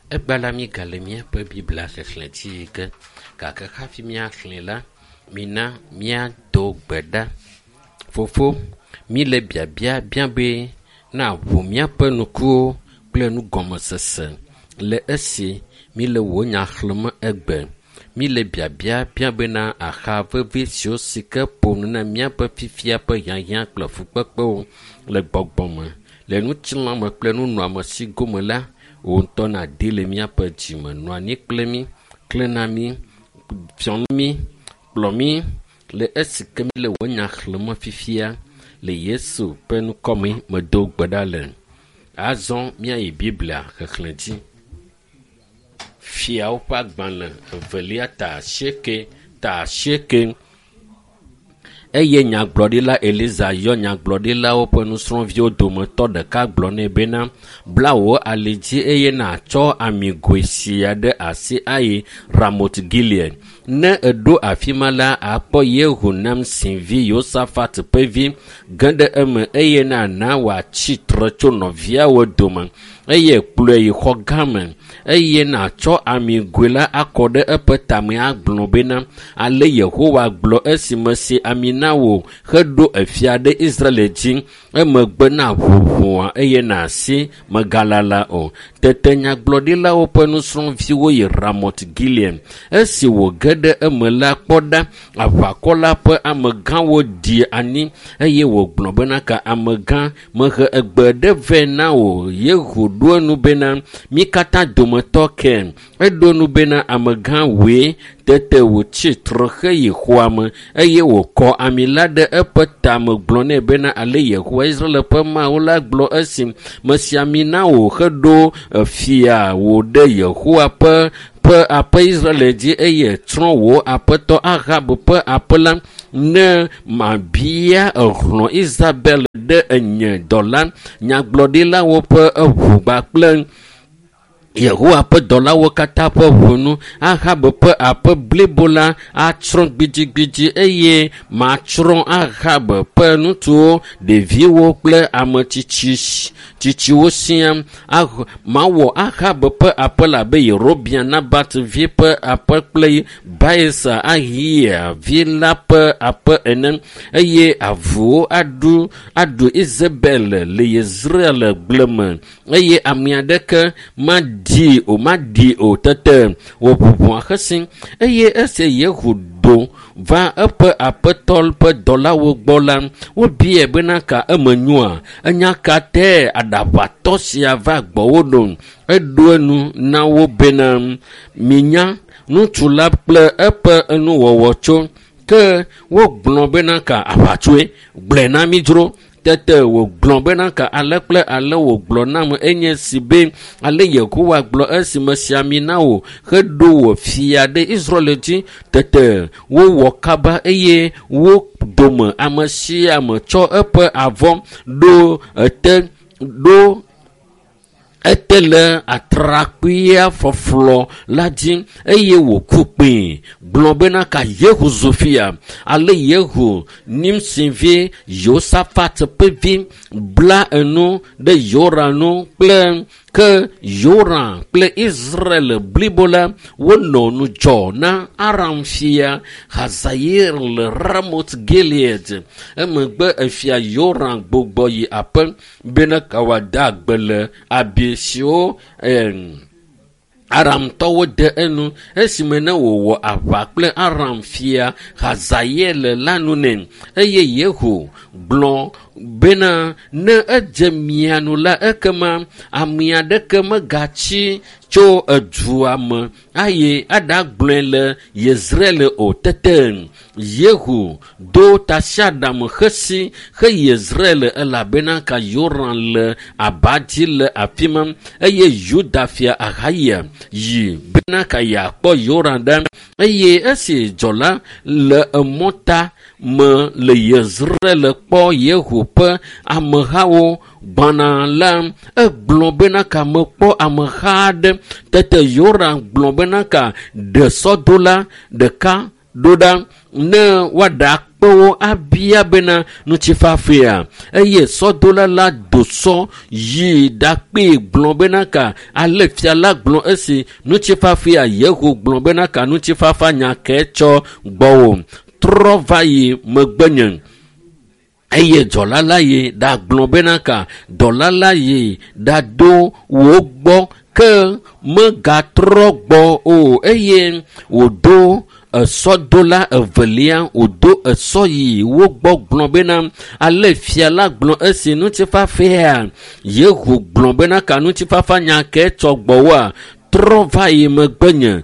Egbea la míegale míaƒe Biblia xexlẽ dzi yi ge gake hafi míaxlẽe la, mina míado gbe ɖa. Fofo, míle biabia biam be na ʋu míaƒe ŋkuwo kple nugɔmesese le esi míle wò nya xlẽm egbe. Míle biabia biam bena axa vevi siwo si ke ƒo nu na míaƒe fifia ƒe hiahiã kple fukpekpewo le gbɔgbɔ me, le ŋutilãme kple nunɔamesi gome la, wò ŋutɔ nàdi le míaƒe dzime. Nɔ anyi kple mí, klẽ na mí, fiɔ nu mí, kplɔ mí le esi ke míle wò nya xlẽm fifia le Yesu ƒe ŋkɔme medo gbe ɖa le. Azɔ míayi Biblia xexlẽ dzi. Fiawo ƒe agbalẽ evelia ta asieke ta asieke. Eye nyagblɔɖila Eliza yɔ nyagblɔɖilawo ƒe nusrɔ̃viwo dometɔ ɖeka gblɔ nɛ bena, Bla wò ali dzi eye nàtsɔ amigoe sia ɖe asi ayi Ramot Gilead. Ne èɖo afi ma la, àkpɔ Yehu Namsi vi Yosafat ƒe vi ge ɖe eme eye nàna wòatsi tre tso nɔviawo dome eye kplɔe yi xɔ gã me eye nàtsɔ amigoe la akɔ ɖe eƒe tame agblɔ bena, Ale Yehowa gblɔ esi mesi ami na wò heɖo efia ɖe Israel dzi. Emegbe nàʋu ʋɔa eye nàsi mègalala o. Tete nyagblɔɖilawo ƒe nusrɔ̃viwo yi Ramot Gilead. Esi wòge ɖe eme la, kpɔ ɖa, aʋakɔ la ƒe amegãwo ɖi anyi eye wògblɔ bena, Ka amegã, mehe egbe ɖe vɛ na wò. Yehu ɖo enu bena, Mí katã dometɔ ke. Eɖo enu bena, Amegã wòe. Tete wòtsi tre heyi xɔa me eye wòkɔ ami la ɖe eƒe tame gblɔ nɛ bena, Ale Yehowa Israel ƒe Mawu la gblɔ esi mesi ami na wò heɖo fia wò ɖe Yehowa ƒe ƒe aƒe Israel dzi eye tsrɔ̃ wò aƒetɔ Ahab ƒe aƒe la ne mabia ehlɔ̃ Isabel ɖe enye dɔla nyagblɔɖilawo ƒe eʋu kple Yehowa ƒe dɔlawo katã ƒe ʋunu. Ahab ƒe aƒe blibo la atsrɔ̃ gbidigbidi eye matsrɔ̃ Ahab ƒe ŋutsuwo, ɖeviwo kple ame tsitsi tsitsiwo siaa. Mawɔ Ahab ƒe aƒe la abe Yerobeam Nabat vi ƒe aƒe kple Baesa Ahia vi la ƒe aƒe ene eye avuwo aɖu aɖu Isabel le Yezreel gble me eye ame aɖeke maɖi o maɖi o. Tete wòʋu ʋɔa xesi eye esi Yehu do va eƒe aƒetɔ ƒe dɔlawo gbɔ la, wobiae bena ka eme nyoa? Enya ka tae aɖaʋatɔ sia va gbɔwò ɖo? Eɖo enu na wo bena, Minya ŋutsu la kple eƒe nuwɔwɔ tso. Ke wogblɔ bena ka aʋatsoe? Gblɔe na mí dzro. Tete wògblɔ bena ka ale kple ale wògblɔ nam enye si be ale Yehowa gblɔ esi mesi ami na wò heɖo wò fia ɖe Israel dzi. Tete wowɔ kaba eye wo dome ame sia ame tsɔ eƒe avɔ ɖo ete ɖo ete le atrakpuia fɔflɔ la dzi eye wòku kpee gblɔ bena ka Yehu zu fia. Ale Yehu Nimsi vi Yosafat ƒe vi bla enu ɖe Yoram nu kple ke Yoram kple Israel blibo la wonɔ ŋudzɔ na Aram fia Hazael le Ramot Gilead. Emegbe efia Yoram gbugbɔ yi aƒe bena wòada agbe le abi siwo Aramtɔwo de enu esime ne wòwɔ aʋa kple Aram fia Hazael la nu nɛ. Eye Yehu gblɔ bena ne edze mia nu la ekema ame aɖeke megatsi tso edua me ayi aɖagblɔe le Yezreel o. Tete Yehu do tasiaɖam xesi he Yezreel elabena ka Yoram le aba dzi le afi ma eye Yuda fia Ahaya yi bena ka yeakpɔ Yoram ɖa eye esi dzɔla le emɔta me le Yezreel kpɔ Yehu ƒe amehawo gbɔna la, egblɔ bena ka mekpɔ ameha aɖe. Tete Yoram gblɔ bena ka ɖe sɔdola ɖeka ɖo ɖa ne woaɖakpe wo abia bena ŋutifafea. Eye sɔdola la do sɔ yi ɖakpee gblɔ bena ka ale fia la gblɔ esi ŋutifafea. Yehu gblɔ bena ka ŋutifafa nya ke tsɔ gbɔwò, trɔ va yi megbenye. Eye dɔla la yi ɖagblɔ bena ka dɔla la yi ɖado wo gbɔ ke megatrɔ gbɔ o. Eye wòdo esɔdola evelia, wòdo esɔ yi wo gbɔ gblɔ bena ale fia la gblɔ esi ŋutifafea. Yehu gblɔ bena ka ŋutifafa nya ke tsɔ gbɔwòa, trɔ va yi megbenye.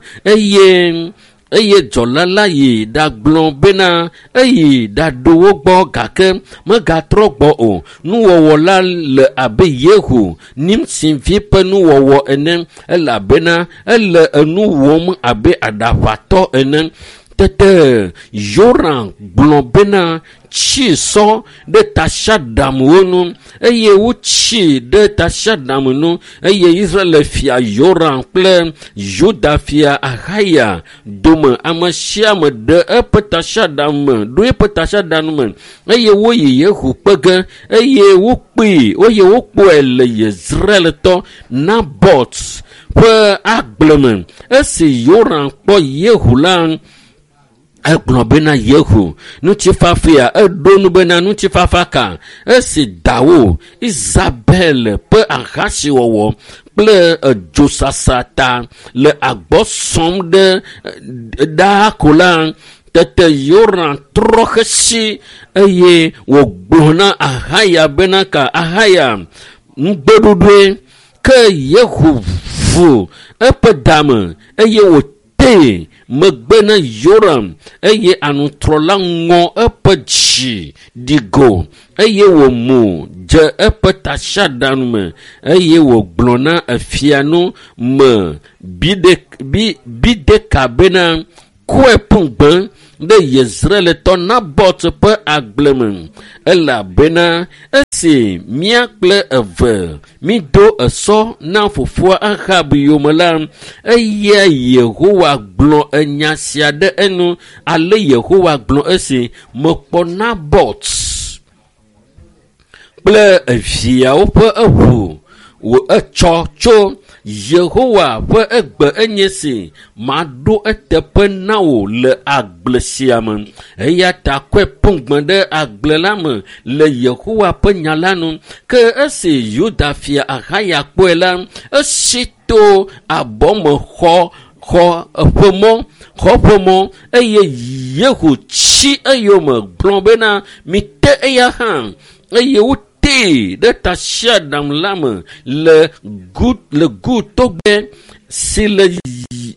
Eye dzɔla la yi ɖagblɔ bena eyi ɖaɖo wo gbɔ gake megatrɔ gbɔ o. Nuwɔwɔ la le abe Yehu Nimsi vi ƒe nuwɔwɔ ene, elabena ele enu wɔm abe aɖaʋatɔ ene. Tete Yoram gblɔ bena tsi sɔ ɖe tasiaɖamwo nu, eye wotsi ɖe tasiaɖam nu. Eye Israel fia Yoram kple Yuda fia Ahaya dome ame sia ame ɖe eƒe tasiaɖam me, ɖo eƒe tasiaɖam me, eye woyi Yehu kpe ge, eye wokpee, eye wokpɔe le Yezreeltɔ Nabot ƒe agble me. Esi Yoram kpɔ Yehu la, egblɔ bena Yehu ŋutifafea. Eɖo nu bena ŋutifafa ka? Esi dawo Isabel ƒe ahasiwɔwɔ kple edzosasa ta le agbɔ sɔm ɖe ɖaa ko la, tete Yoram trɔ xesi eye wògblɔ na Ahaya bena ka Ahaya ŋugbeɖoɖoe. Ke Yehu vu eƒe dame eye wòtee megbe na Yoram, eye anutrɔ la ŋɔ eƒe dzi ɖi go, eye wòmu dze eƒe tasiaɖam me, eye wògblɔ na efia nu me Bideka bena kɔe ƒu gbe ɖe Yezreeltɔ Nabot ƒe agble me, elabena esi mía kple eve mído esɔ na fofoa Ahab yome la, eya Yehowa gblɔ enya sia ɖe enu. Ale Yehowa gblɔ esi mekpɔ Nabot kple eviawo ƒe eʋu wò etsɔ tso Yehowa ƒe egbe enye si maɖo eteƒe na wò le agble sia me. Eya ta kɔe ƒu gbe ɖe agble la me le Yehowa ƒe nya la nu. Ke esi Yuda fia Ahaya kpɔe la, esi to abɔme xɔ ƒe mɔ, eye Yehu tsi eyome gblɔ bena mite eya hã, eye wotee ɖe tasiaɖam la me le Gu togbe si le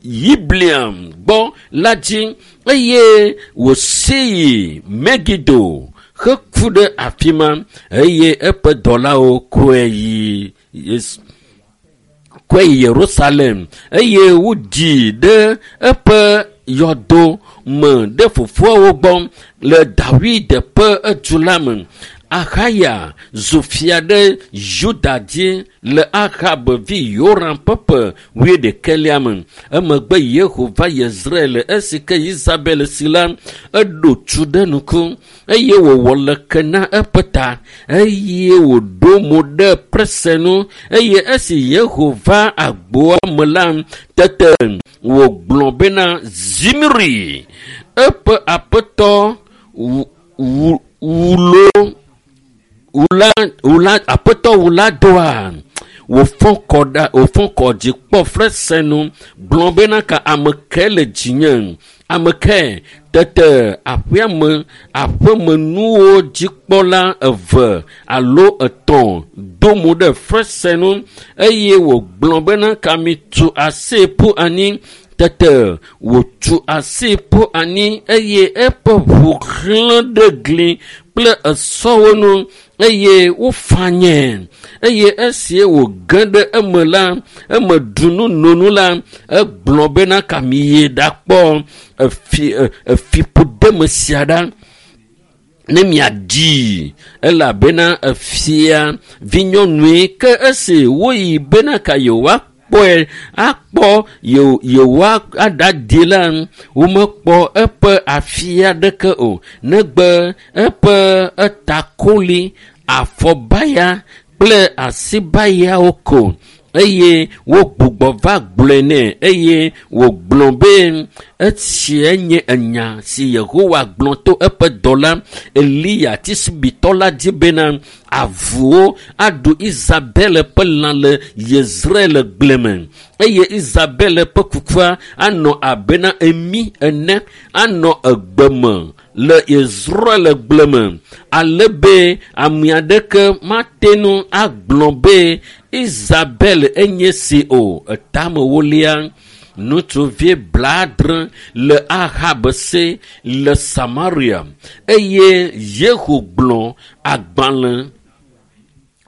Yibliam gbɔ la dzi, eye wòsi yi Megido heku ɖe afi ma, eye eƒe dɔlawo kɔe yi Yerusalem, eye woɖii ɖe eƒe yɔdo me ɖe fofoawo gbɔ le Dawid ƒe edu la me. Ahaya zu fia ɖe Yuda dzi le Ahab vi Yoram ƒe ƒe 21 me. Emegbe Yehu va Yezreel esi ke Isabel si la, eɖo tu ɖe nuku, eye wòwɔ leke na eƒe ta, eye wòɖo mo ɖe prese nu. Eye esi Yehu va agboa me la, tete wògblɔ bena Zimri, eƒe aƒetɔ aƒetɔ wula doa, wòfɔ kɔ dzi kpɔ frese nu gblɔ bena ka ame ke le dzinye, ame ke. Tete aƒemenuwo dzikpɔla eve alo etɔ̃ do mo ɖe frese nu, eye wògblɔ bena ka mitu asi ƒu anyi. Tete wòtu asi ƒu anyi, eye eƒe ʋu xlẽ ɖe gli kple esɔwo nu, eye wofanyɛ. Eye esi wòge ɖe eme la, eme ɖu nu no nu la, egblɔ bena ka miyi ɖakpɔ efiƒodeme sia ɖa ne miaɖii, elabena efia vinyɔnue. Ke esi woyi bena ka yewoakpɔ yewoakpɔe akpɔ yewoaɖadi la, womekpɔ eƒe afi aɖeke o, negbe eƒe etakoli, afɔbaya kple asibayawo ko. Eye wogbugbɔ va gblɔe nɛ, eye wògblɔ be esia nye enya si Yehowa gblɔ to eƒe dɔla Eliya Tisbitɔ la dzi bena avuwo aɖu Isabel ƒe lã le Yezrael gble me, eye Isabel ƒe kukua anɔ abena emi ene anɔ egbe me le Yezrael gble me, ale be ame aɖeke mate ŋu agblɔ be Isabel enye si o. Etamewolia, ŋutsuvi 70 le Ahab si le Samaria, eye Yehu gblɔ agbalẽ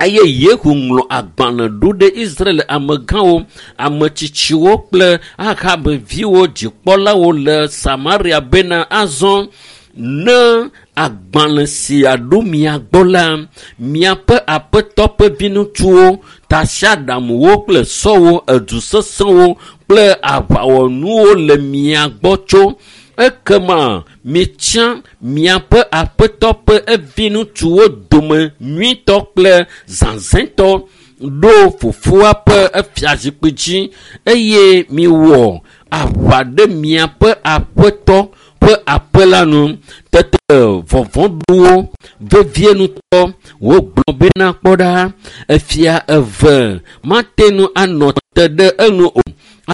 eye Yehu ŋlɔ agbalẽ ɖo ɖe Israel amegãwo, ametsitsiwo kple Ahab viwo dzikpɔlawo le Samaria bena azɔ ne agbalẽ sia ɖo mia gbɔ la, miaƒe aƒetɔ ƒe viŋutsuwo, tasiaɖamwo kple sɔwo, edu sesẽwo kple aʋawɔnuwo le mia gbɔ tso. Ekema mitsia miaƒe aƒetɔ ƒe viŋutsuwo dome nyuitɔ kple zazɛ̃tɔ ɖo fofoa ƒe fiazikpui dzi, eye miwɔ aʋa ɖe miaƒe aƒetɔ ƒe aƒe la nu. Tete vɔvɔ̃ ɖo wo vevie ŋutɔ. Wogblɔ bena kpɔ ɖa, efia eve mate ŋu anɔ te ɖe enu o.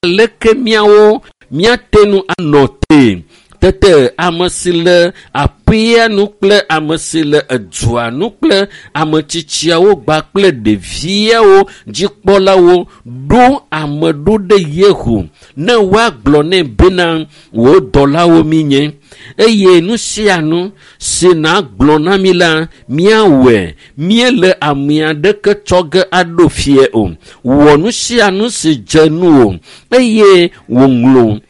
Aleke míawo míate ŋu anɔ te? Tete ame si le aƒea nu kple ame si le edua nu kple ame tsitsiawo gba kple ɖeviawo dzikpɔlawo ɖo ame ɖo ɖe Yehu ne woagblɔ nɛ bena wò dɔlawo míenye, eye nu sia nu si nàgblɔ na mí la, míawɔe. Míele ame aɖeke tsɔ ge aɖo fie o. Wɔ nu sia nu si dze nuwò. Eye wòŋlɔ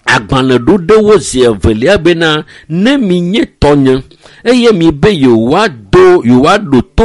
agbalẽ ɖo ɖe wo zi evelia bena ne minye tɔnye eye mibe yewoado yewoaɖo to